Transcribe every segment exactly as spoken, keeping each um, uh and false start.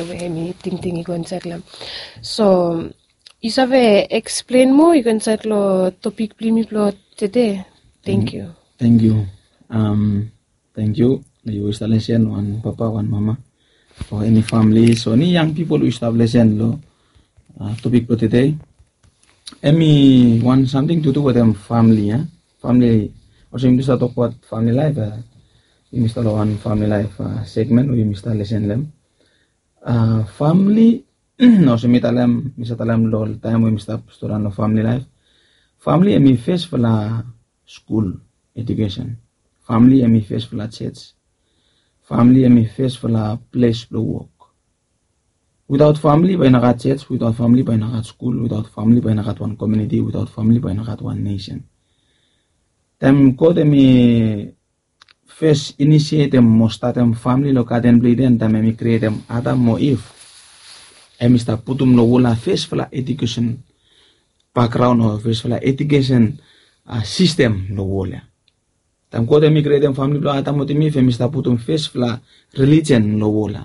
we em i tingting i go insait long em. So yu save explain moa i go insait long topik blong yumi blong tede? Thank you. Thank you. Um, thank you. Yu stap lesen wan papa, wan mama, o eni famili, so eni yang pipol yu stap lesen long uh, topik blong tede. Em i wan samting to do wetem famili, ya. Famili, olsem yumi stap tokbaot famili laif, uh, yumi stap long wan famili laif uh, segment we yumi stap lesen long em. Uh, famili, olsem mi talem, mi stap talem long taim we mi stap storian long famili laif. Famili em i fesfala skul, edukesen. Famili em i fesfala church. Famili em i fesfala ples blong wok. Without famili bae i no gat church, without famili bae i no gat skul, without famili bae i no gat wan community, without famili bae i no gat wan nesen. Taim God em i fes inisietem mo statem famili long gaden blong Iden, taim em i krietem Adam mo Iv, em i stap putum long wol ya fesfala edukesen bakgraon o fesfala edukesen uh, sistem long wol ya. Taim God em i krietem famili blong Adam wetem Iv, em i stap putum fesfala relijen long wol ya,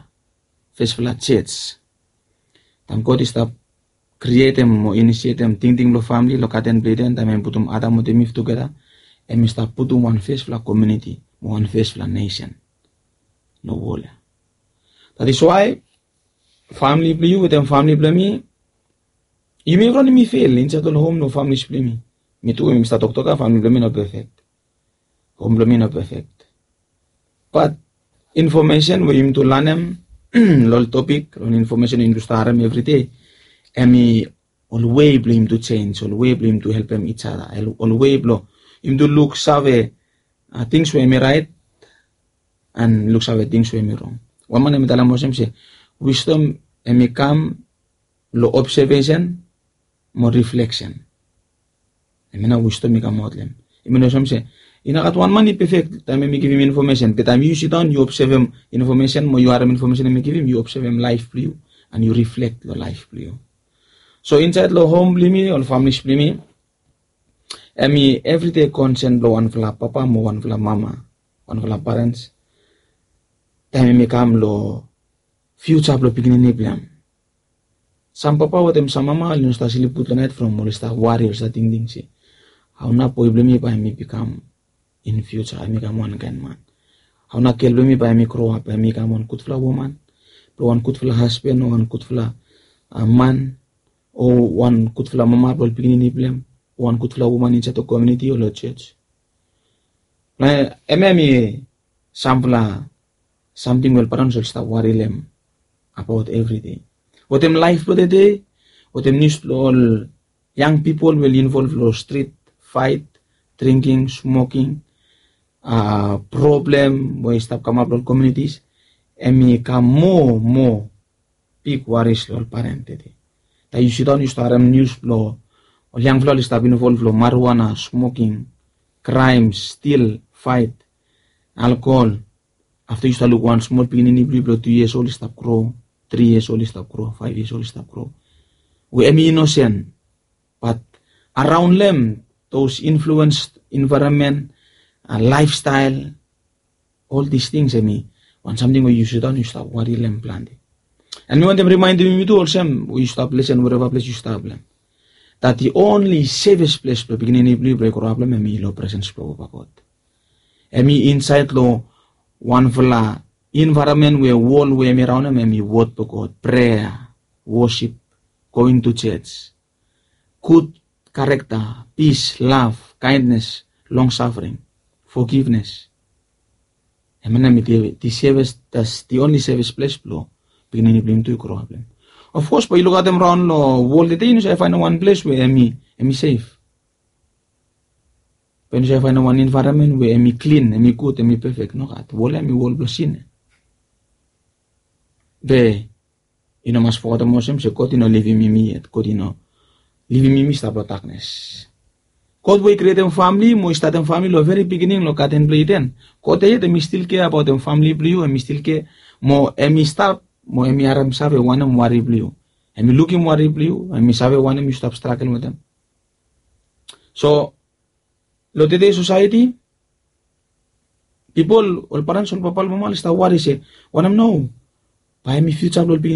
fesfala church. Taim God i stap krietem o inisietem tingting blong famili long gaden blong Iden, taim em i putum Adam wetem Iv tugeta, em i stap putum wan fesfala community mo wan fesfala nesen long wol ya. That is why famili blong yu wetem famili blong mi, yumi evriwan yumi fel insait long hom long famili blong yumi. Mi tu, mi stap toktok ya, famili blong mi no perfect. Hom blong mi no perfect. Bat infomesen we yumi tu lanem long topik, long infomesen we yumi tu stap harem evridei, em i ol wei blong yumi tu jenis, ol wei blong yumi tu helpem each other, ol wei blong yumi tu luksave uh, tings we em i raet, and luksave tings we em i rong. Wan man em i talem olsem se, wisdom em i kam long observation mo reflection. Em i na wisdom i kamaot long em. I min olsem se, i no gat wan man i perfect taim em i givim infomesen, be taim yu sidaon yu obsevem infomesen mo yu harem infomesen em i givim, yu obsevem laef blong yu, and yu reflect long laef blong yu. So insait long hom blong yumi, ol famili blong yumi, em i evridei konsen blong wanfala papa mo wanfala mama, wanfala parents, taim em i kam long fiuja blong pikinini blong em. Sam papa wetem sam mama oli no stap slip gud long nait from oli stap wari, oli stap tingting se, hao nao boe blong mi bae em i bikam in fiuja, em i kam wankaen man? Hao nao gel blong mi bae em i groap, bae em i kam wan gudfala woman, blong wan gudfala hasban o wan gudfala uh, man, o wan gudfala mama blong ol pikinini blong em, o wan gudfala woman insait long komuniti o long jos? Long em, em i samfala samting we ol parents oli stap wari long em abaot evridei. Wetem laef blong tede, wetem nius blong ol yang pipol we oli involv long strit faet, dringking, smoking, uh, problem we i stap kamap long ol komunitis, em i kam moa moa big worries long ol parent tede. Taim yu sidaon yu stap harem nius blong ol yangfala oli stap involv long marijuana, smoking, kraem, stil, faet, alkohol. Afta yu stap luk wan smol pikinini blong yu blong tu yias ol i stap gro, tri yias ol i stap gro, faef yias ol i stap gro, we em i inosen. Bat araon long em, those influence, environment, uh, lifestyle, ol dis tings em i wan samting we yu sidaon yu stap wari long em plante. And mi wantem rimaendem yumi tu olsem we yu stap lesen wereva ples yu stap long em, that the only safest ples blong pikinini blong yu blong i groap long em em i long presens blong Papa God. Em i insait long wanfala environment we wol we em i raonem em i wod blong God, prea, wosip, going to church, gud karekta, pis, lav, kaendnes, long safering, fogivnes. Em ya nao em i the safest, that's the only safest ples blong pikinini blong yumi tu i groap long em. Of course bae yu lukaotem raon long wol tede yu no save faenem wan ples we em i, em i sef. Bae yu no save faenem wan envaeronmen we em i klin, em i gud, em i pefek. Nogat. Wol ya em i wol blong sin ya. Be yu no mas fogetem olsem se God i no livim yumi yet. God i no livim yumi stap long daknes. God we i krietem famili mo i statem famili long veri biginin long gaden blong Iden, God ya yet em i stil kea abaotem famili blong yu, em i stil kea mo em i stap mo em i harem save wanem wari blong yu. Em i lukim wari blong yu, em i save wanem yu stap stragel wetem. So long tede sosaeti, pipol, ol parents, ol papa, ol mama oli stap wari se wanem nao bae em i fiuja blong ol pikinini